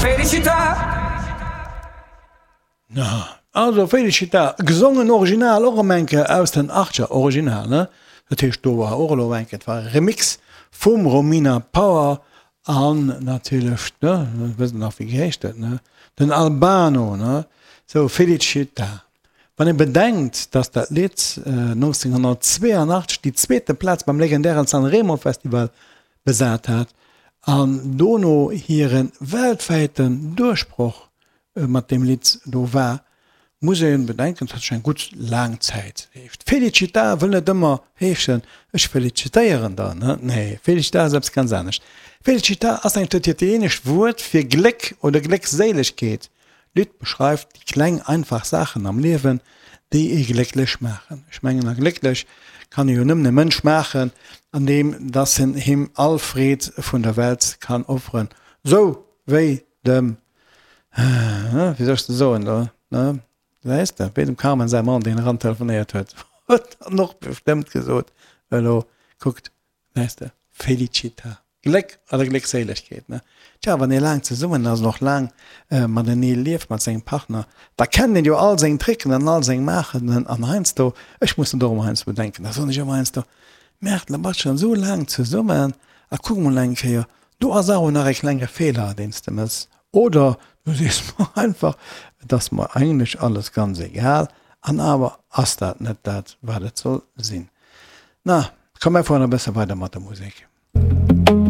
Felicità. Na, also Felicità, gesongen original och erëm eng Kéier aus den Achtger, original, ne? Dat heescht do war och elo eng Kéier, et war e Remix vum Romina Power an natierlech, ne, wësst nach wéi geheescht huet, ne, den Albano, ne? Sou, Felicità. Wann ee bedenkt, dass dat Lidd 1982 déi zweete Plaz beim legendären Sanremo Festival besat hat an dono hire weltwäiten Duerchbroch mat deem Lidd do war, muss ee bedenken, dat ass eng gutt laang Zäit. Felicità wëll net ëmmer heeschen, ech felicitéieren der, ne? Nee, Felicità ass eppes ganz anescht. Felicità ass eng dat italienescht Wuert fir Gléck oder Gléckséilegkeet. D'Lidd beschreift déi kleng, einfach Saachen am Liewen, déi ee glécklech maachen. Ech mengen, a glécklech kann ee jo nëmmen e Mënsch maachen, andeem dass en him all Freed vun der Welt kann offeren, sou wéi dem Wéi soll ech de soen do, ne? Weess de, wéi dem Carmen säi Mann, deen eran telefonéiert huet, huet dann och bestëmmt gesot, elo kuckt, weess de, Felicita, Gléck oder Gléckséilegkeet, ne? Tja, wann ee laang zesummen ass an och laang matenee lieft mat sengem Partner, da kennt een jo all seng Tricken an all seng Maachen an heiansdo, ech muss dat och ëmmer heiansdo bedenken, da soen ech ëmmer heiansdo, Merde, da bass schonn esou laang zesummen a kuck mol eng Kéier, Do ass awer nach e klenge Feeler, deen s de mëss. Oder du sees mer einfach, Et ass mer eigentlech alles ganz egal, an awer ass dat net dat, wat et soll sinn. Na, komm, mir fueren e bësse weider mat der Musek.